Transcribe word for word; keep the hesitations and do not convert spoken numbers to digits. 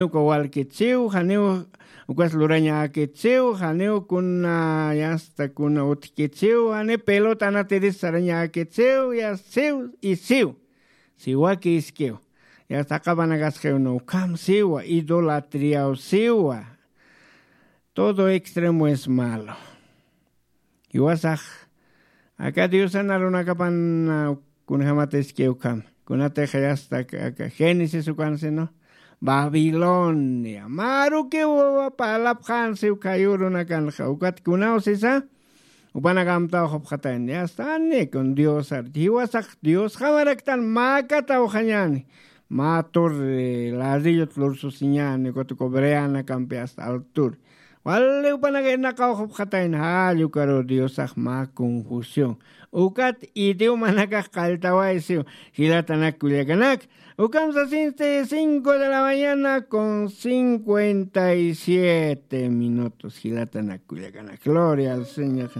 Uka walkitsiw janiw, ukas lurañäkitsiw janiw, kuna yasta kuna utjkitsiw janiw, pelota anatiris sarañäkitsiw, yasta siw y siw. Siwaki iskiw. Yasta aqapanakasqiw no ukham siwa, idolatriaw siwa. Todo extremo es malo. Jiwasax aka diosan arunakapan, kunjämat iskiw ukham, kunatix yasta aka génesis ukan sino, babilonia marukiw parlapxän siw khay urunakanxa. Ukat kunaw sisa, jupanak amtaw jupxatayna, yasta jani kun diosar, jiwasax diosjamaraktan mäkatawxañäni. Mä torre ladrillot lursusiñäni, ukat uka breanakampi hasta altura. Wali jupanak irnaqaw jupxatayna, jall ukaru diosax mä confusión. Ukat idiomanakax qalltawaysiw, jilatanak kullakanak. Ukam sasinsti cinco de la mañana con cincuenta y siete minutos, jilatanak kullakanak. Gloria al Señor.